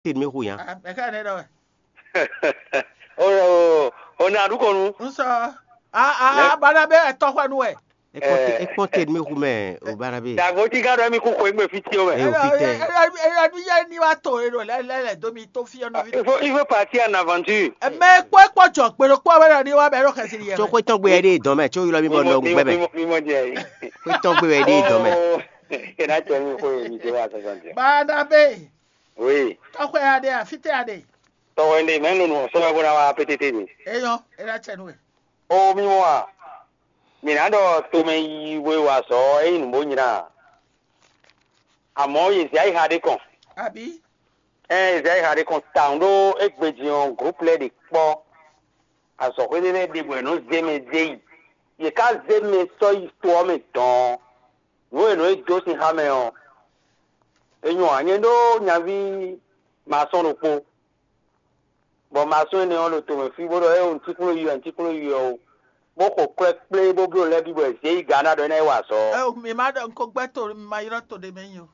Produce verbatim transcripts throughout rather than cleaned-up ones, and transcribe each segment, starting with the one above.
Tedmi hu nya. Mɛ ká ne ɖɔ wɛ. O o o na ɖu kɔnu. N sɔ a a bana bɛ tɔxɔnu wɛ. Ekpɔn te- ekpɔn tedmi hu mɛ o bana be. Dagbo ti ka ɖɔ mi kú xɔ egbe fi ti o mɛ. Eyo fi tɛ. Eya nu yɛ ni wa to e ɖo lɛ lɛ lɛ domi to fi ɔnɔ fi. Il faut il faut partir en aventure. Mɛ kpɔ kpɔ jɔ gbeɖo kpɔ bɛ na ni wa bɛ ɖo xɛsi yɛ. Tso xɔ etɔn gbe yɛ ɖe dɔn mɛ tso yɔrɔ mi bɔ nɔ gbɛ mɛ. Mi mɔ jɛ yi. Xɔ etɔn gbe yɛ ɖe dɔn mɛ. Ena tɛ mi xɔ mi jɛ wa sɔsɔ jɛ. Bana be. Oui. Tɔxɔ ya ɖe afitɛ ya ɖe. Tɔwɛ ɖe mɛ nunu sɔmɛ bó ná wá pétété mi. Eyɔn, é ná cɛ nú we. O mi mɔ a, mi ná ɖɔ tomɛ yi we wa sɔ é nyí nǔ bó nyrá a. Àmọ́ yě zɛ ayǐ ha ɖé kɔn. Abǐ? Ɛn yě zɛ ayǐ ha ɖé kɔn tawun ɖó égbé din ɔ́ groupe lɛ́ɛ ɖě kpɔ́. Azɔ̌xwé ɖé lɛ́ɛ ɖe bɔ è nɔ́ zé mɛ zé yi. Yě ká zé mɛ sɔ́ yi to ɔ́ mɛ dɔ̌n. Nǔ e nɔ e dó sin xá mɛ ɔ́, è nyɔ anyɛ ɖó nyaví masɔ́n ɖokpó, bɔ masɔ́n énɛ́ ɔ́ ɖo tomɛ fí bó ɖɔ é ɔ́ nǔtíkplɔ́n yi wɛ nǔtíkplɔ́n yi wɛ o, bó xo kwɛ́ kplé bó bló lɛ́ɛ bǐ bɔ è zě yi Gana ɖɔ é ná yi wa azɔ̌. Ɛ, mi ma ɖɔ un ko gbɛ́ to mi ma ylɔ́ to ɖé mɛ nyi o.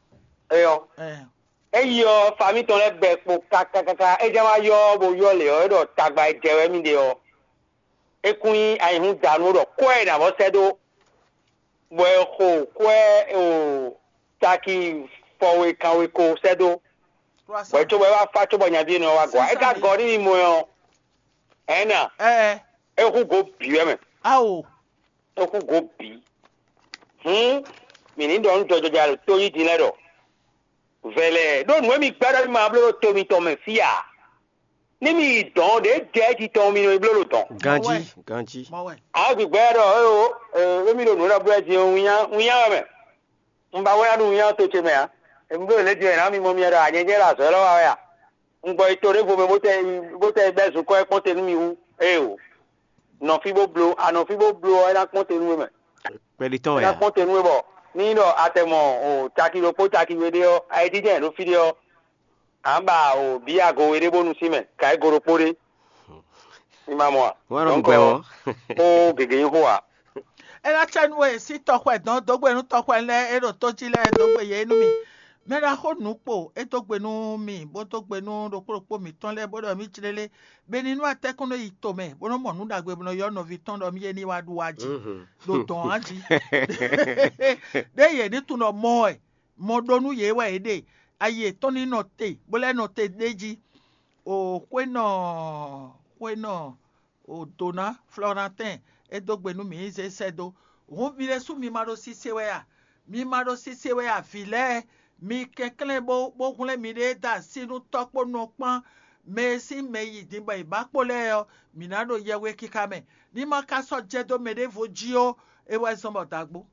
Éyɔ, Ɛ, é yi ɔ́, famí tɔn lɛ́ɛ bɛ kpo kákákáká, é jɛ́n wá yɔ ɔ́ bó ylɔ́ lě ɔ́, é ɖɔ tagba e jɛ wɛ mì ɖe ɔ́, é kún nyí ayǐhúnzánú ɖɔ kwɛ́ e nǎ vɔ sɛ́ dó. Bɔ è xo kwɛ́ o taki fɔwe kanwe ko sɛ́ dó, bɔ é cóbɔ é wá fá cóbɔ nyaví énɛ́ ɔ́ wá gɔ́ ǎ. É ka gɔ́ n'i mɔ ɔ́, ɛ̌ na, é hú gǒ bǐ wɛ mɛ. Ao, é hú gǒ bǐ. Hǔn, mǐ ní ɖɔ nú jɔjɔja ɖo tó yí din lɛ́ɛ ɖɔ: Vɛ̌ lɛ́ɛ, ɖó nǔ e mi gbɛ́ ɖɔ mi ma bló ɖo to mitɔn mɛ fí ǎ. Ní mi yi dɔ̌n ɖě jɛ jí tɔn mi nɔ yi bló ɖo dɔ̌n. Ganjí, ganjí. Mɔ wɛ. Ǎ gbǐgbɛ́ ɖɔ éwo, émi ɖo nǔ ɖɔ blɛ́ din ɔ́, winnyá winnyá wɛ mɛ. Un ba wɛ ná ɖu winnyá to ce mɛ ǎ. Èmi bló lě din ɔ́, è nǎ mi mɔ mi ɖɔ anyɛjɛ ɖo azɔ̌ élɔ́ wa wɛ a? Un gbɔ yi to ɖěvo mɛ bó tɛ yi bó tɛ yi bɛ́ zunkɔ́ é kpɔ́n te nú mi wú. Éewo. Nɔ fí bó bló, a nɔ fí bó bló ɔ́, é ná kpɔ́n te nú we mɛ. Kpɛɖi tɔn É wɛ ná a? Kpɔ́n te nú we bɔ ní nyí ɖɔ a tɛ mɔ o caki ɖokpó caki we ɖé ɔ́, ayidíjɛ́n ɖo fí ɖé ɔ́, a nǎ ba o bǐ ago we ɖé bónú sín mɛ, ka é go ɖokpó ɖé. Mi ma mɔ a? Wọ́n á nɔ Donc, gbɛ wɔn. Xó gěgé nyí xó ǎ. É ná cɛ nú we sí tɔxwɛ dɔn dó gbe nú tɔxwɛ lɛ́ɛ e ɖo tó jí lɛ́ɛ dó gbe yě nú mì. Mɛ ɖaxó nǔ kpo é dó gbe nú mì bó dó gbe nú ɖokpó ɖokpó mǐtɔn lɛ́ɛ bó ɖɔ mì jlélé, bɔ é ní nú atɛ́kún nɔ yi tomɛ bó nɔ́ mɔ nǔ ɖagbe bó nɔ́ ylɔ́ nɔví tɔn ɖɔ mì é ní wá ɖu wá jí ɖo dɔ̌n ǎ jí. Ɖěe yě ní tunwun ɖɔ mɔ wɛ, mɔ ɖó nú yě wɛ é ɖe, ayi yětɔn ní nɔ te bó lɛ́ nɔ te ɖ'é jí. O xwénɔ xwénɔ o Dona Flɔnatɛn é dó gbe nú mǐ zé sɛ́ dó. Hǔn mi ɖésú mi ma ɖo sise wɛ a? Mi ma ɖo sise wɛ a, vǐ lɛ́ɛ? Mi kɛnklɛ́n bó bó hwlɛ́n miɖée dó así nú tɔ́ kpó nɔ kpán mɛ e sín mɛ yi din bɔ è bǎ kpo lɛ́ɛ ɔ́, mǐ ná ɖo yɛhwexixa mɛ. Ní ma ka sɔ́ jɛ dó mɛ ɖěvo jí ó, é wɛ zɔ́n bɔ dǎgbó.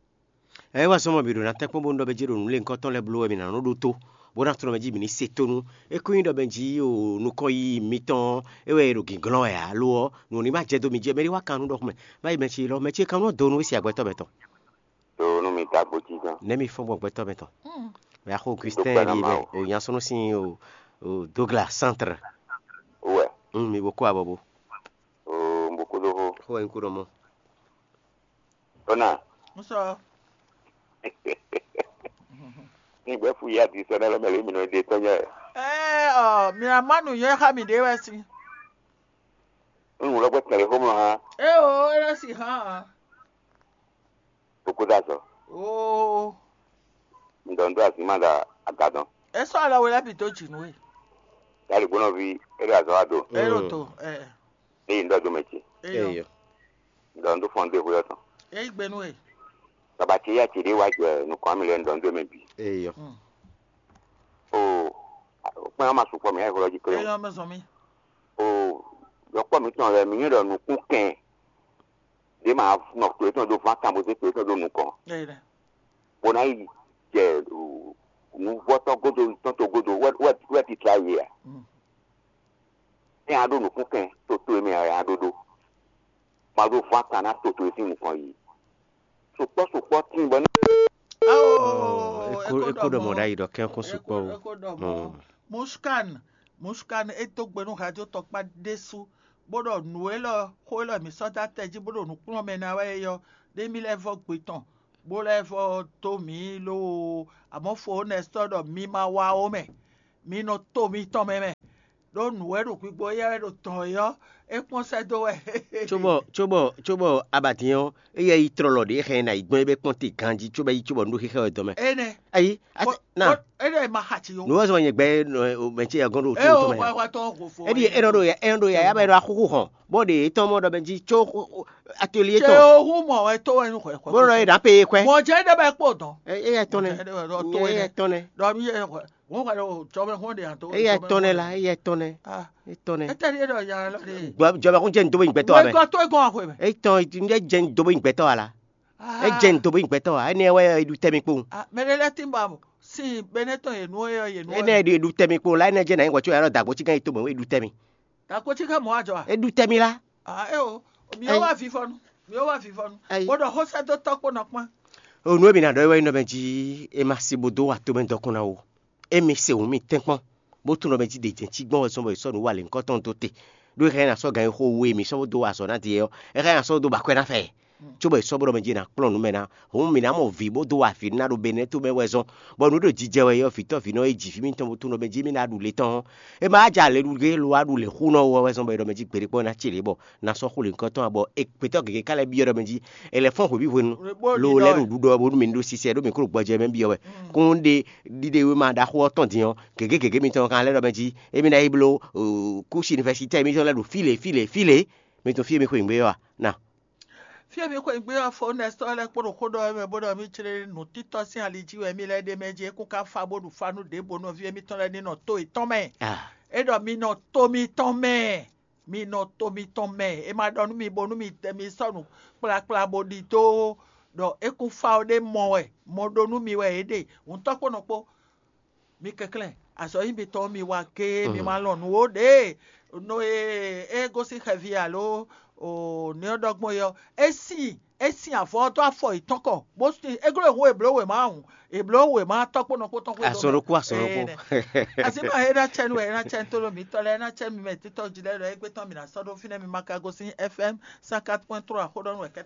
Ɛ wá sɔmɔ mì ɖo ná tɛ́nkpɔ́n bónú ɖɔ mɛ jí ɖo nǔléŋkɔ́ tɔn lɛ́ɛ bló wɛ mì nǎ nɔ ɖótó, bó ná tlɔ́n mɛ jí mǐ ní se tónú. É kún nyí ɖɔ mɛ jí o nukɔn yi mitɔn é wɛ è ɖo gǐnglɔ́n wɛ ǎ lo ɔ́, nǔ ní ma jɛ dó mi jí ɔ́, mɛ ɖé wá kan nú ɖɔxú mɛ, má yi mɛ ce lɔ, mɛ ce kan nú ɔ́ dó nú é se agbɛtɔ́ mɛ tɔn. Do nú mi tágbó cí gán. Nɛ́ mi fɔ́n gbɔn gbɛtɔ́ mɛ tɔn. Mɛ axó Christɛn ɖi mɛ o nya sɔ́ nú sín o o Douglas Centre. Wɛ. Un mi bo kó abɔ bo. O un bo kó dó xó. Xó wɛ un kó ɖɔ mɔ. Ona. Ŋusɔ. Ní gbɛ́ fú yá di sɛnɛ lɔ mɛ lě mi nɔ ɖe tɔ́ nyɛ. Ɛɛ ɔ mìlá má nǔnywɛ́ xá mì ɖé wɛ sín. Ń wlɔ́ gbɛ́ tɛ̀lé xó mlɔ hán. É o é lɛ́ si hán ǎ. Kókó dó azɔ. Oo. Un ɖɔ un ɖó azǐnma ɖo agadɔn. É sɔ́ alɔ we lɛ́ bǐ dó jǐ nú we. Yali gbónɔví é ɖo azɔ̌ wa do. É ɖo to ɛ. Ní yi un ɖɔ dó mɛ ce. Eyɔ. Eyɔ. Un ɖɔ un ɖó fɔn dó ehwe ɔ́ tɔn. É yí gbe nú we. Baba ce yá ce ɖé wá jɛ nukɔn mi lɛ un ɖɔ un dó mɛ bǐ. Eyɔ. Oo. Kpɛn ɔ́ ma sukpɔ́ mɛ yá ehwe ɔ́ jí kplé. Eyɔ mɛ zɔn mì. Oo. Yɔkpɔ́ mǐtɔn lɛ́ɛ mi nyí ɖɔ nukúnkɛn ɖě ma nɔ to yětɔn ɖó ván kan bó zé to yětɔn ɖó nukɔn, bó ná yi jɛ nǔvɔ́tɔ́ godo tɔn to godo wɛ titla yě a? Ní a ɖó nǔkúnkɛn to to e mɛ a ɖó ɖó, ma ɖó ván kan ná to to e sín nukɔn yi. Sukpɔ́ sukpɔ́ tíin bɔ ní. É kó ɖɔ mɔ̌ ɖ'ayǐ ɖɔ kɛ́nkún sukpɔ́ o. Mushkan, Mushkan é dó gbe nú radio tɔkpá ɖésú bó ɖɔ nǔ élɔ́ xó élɔ́ mǐ sɔ́ dó atɛ jí bó ɖo nǔ kplɔ́n mɛ ná wɛ é ɔ́, ɖé mì lɛ́ vɔ́ gbe tɔn, bó lɛ́ vɔ́ dó mǐ lóo, amɔ̌ fo Nɛstɔ́ ɖɔ mi ma wá ó mɛ. mi nɔ to mitɔn mɛ mɛ, ɖó nǔ wɛ ɖo gbigbo éyɛ́ wɛ ɖo tɔn é ɔ́, é kpɔ́n sɛ́ dó wɛ. Cóbɔ cóbɔ cóbɔ abatín ɔ́, éyɛ́ yi tlɔlɔ ɖě xɛ ná yi gbɔn é bɛ kpɔ́n te ganjí cóbɔ yi cóbɔ nú xixɛ wɛ dɔn mɛ. Énɛ́ Ayi, ati- na énɛ́ ma xa tsi yó. Nǔ wɛ zɔn nyɛ gbɛ mɛ ce yɛ gɔn ɖo É o to mɛ. Wa wa tɔn hofo. Eɖi e nɔ ɖo ya e nɔ ɖo ya ya bɛ ɖo axuxu xɔn bɔ ɖe etɔn mɔ ɖɔ bɛ jí tso atelier Tse tɔn o hu mɔ wɛ to wɛ nu xɔ xɔ. bó nɔ yi ɖa pé ye kwɛ. Mɔ jɛ ɖe bɛ kpɔ dɔn. Eya tɔn nɛ. To Eya wɛ. Tɔn nɛ. Dɔ mi yɛ xɔ. Wọn xɔ ɖo jɔmɛ xɔ de ato. Eya tɔn nɛ la eya tɔn nɛ. Ah, Etɔn nɛ. Etɛ ɖe ɖɔ ya lɔ de. Gbɔ jɔba kún jɛ ndo bɛ gbɛtɔ Wɛ abɛ. Gɔ to egbɔn axɔ mɛ. Etɔn jɛ ndo bɛ gbɛtɔ ala. Ah. Ejɛ ndo bɛ gbɛtɔ a ene wɛ eɖu tɛmi kpo. Ah, mɛ ɖe lɛ ti ba mo. Si bɛnɛ tɔn yenu yɔ yenu. Ene eɖu tɛmi kpo la ene jɛ na yi wɔ tso ya lɔ dagbo tsi gan yi to mɛ eɖu tɛmi. Ta ko tsi ka mɔ ajɔ a. Eɖu tɛmi la. Ah, e o. Mi yɔ wa fifɔnu. Mi yɔ wa fifɔnu. Ayi. Bó ɖɔ xɔsɛ dó tɔkpɔ nɔ kpɔn. Onu emi na ɖɔ wɛ nɔ bɛ ji e ma si bo do wa to mɛ dɔkun na o. Emi se wun mi tɛnkpɔn bó tunɔ mɛ ji ɖe jɛn ci gbɔn wɛ sɔn bɔ e sɔ nǔ wa lě ŋkɔ tɔn dó te. Ɖó e xɛ na sɔ gan e xo we mi sɔ bó do wa azɔ na die ɔ, e xɛ na sɔ dó ba kwɛ na fɛ. Tso bɔ e sɔ bó ɖɔ mɛ ji na kplɔn nǔ mɛ na. Hǔn mi na mɔ vǐ bó do wa vǐ na ɖo benɛ to mɛ wɛ zɔn, bɔ nǔ ɖo jijɛ wɛ yɔ vǐtɔ vǐ nɔ e ji vǐ mitɔn bó tunɔ mɛ ji mi na ɖu le tɔn. E ma ja le ɖu ge lo wa ɖu le xu nɔ wɔ wɛ zɔn bɔ e ɖɔ mɛ ji gbeɖe kpɔn na ci le bɔ na sɔ xo lě ŋkɔ tɔn bɔ e gbetɔ gěgé ka lɛ byɔ́ ɖɔ mɛ ji e lɛ fɔn hweví hwenu lo lɛ ɖo ɖuɖɔ bónú mi ɖo sisɛ ɖó mi kó ɖo gbɔjɛ mɛ byɔ́ wɛ. Kún ɖe ɖiɖe wéma ɖaxó ɔ́ tɔn din ɔ́, gěgé gěgé mitɔn kan lɛ́ ɖɔ mɛ jí émí ná yi bló kúsi univɛsitɛ́ mitɔn lɛ́ ɖo fí lě fí lě fí lě. Mi tunwun fí e mi xweyǐgbe ɔ́ a? Na Fí e mi xweyǐgbe ɔ́ fo nɛsɔ́ lɛ́ kpó ɖo xó ɖɔ wɛ mɛ bó ɖɔ mí jlé nǔtítɔ́ sín ali jí wɛ mí lɛ́ ɖe mɛ jí é kún ka fa bó ɖu fa nú ɖěbǔ nɔví émítɔn lɛ́ɛ ní nɔ tó yětɔn mɛ. É ɖɔ mi nɔ to mitɔn mɛ, mi nɔ to mitɔn mɛ. È ma ɖɔ nú mi bónú mi tɛ mi sɔ́ nǔ kplakpla bó ɖidó ɖɔ é kún fa ɔ́ ɖé mɔ wɛ, mɔ ɖó nú mi wɛ é ɖe. Hǔntɔ́ kpó nɔ kpó. Mi kɛnklɛ́n, azɔ̌ nyi mitɔn mi wa géé, mi ma lɔn nǔ ó ɖě. No e é gosín xɛví alo nɛ́ ɔ́ ɖɔ gbɔn é ɔ́, é sin é sin avɔ ɔ́ dó afɔ yětɔn kɔ, bó sin é gló e hu è blǒ wěma hǔn, è blǒ wěma tɔ́ kpó nɔ kpó tɔn xwé. Azɔn ɖokpó, azɔn ɖokpó. Asi ma é ná cɛ nú wɛ é ná cɛ nú tólo mǐtɔn lɛ́ɛ é ná cɛ nú mi mɛ títɔ́ jí lɛ́ɛ ɖɔ é gbé tɔn mǐ ná sɔ́ ɖó fínɛ́ mi ma ka gosín F M cent quatre point trois xó ɖɔ nú wɛ kɛ́tɛ́.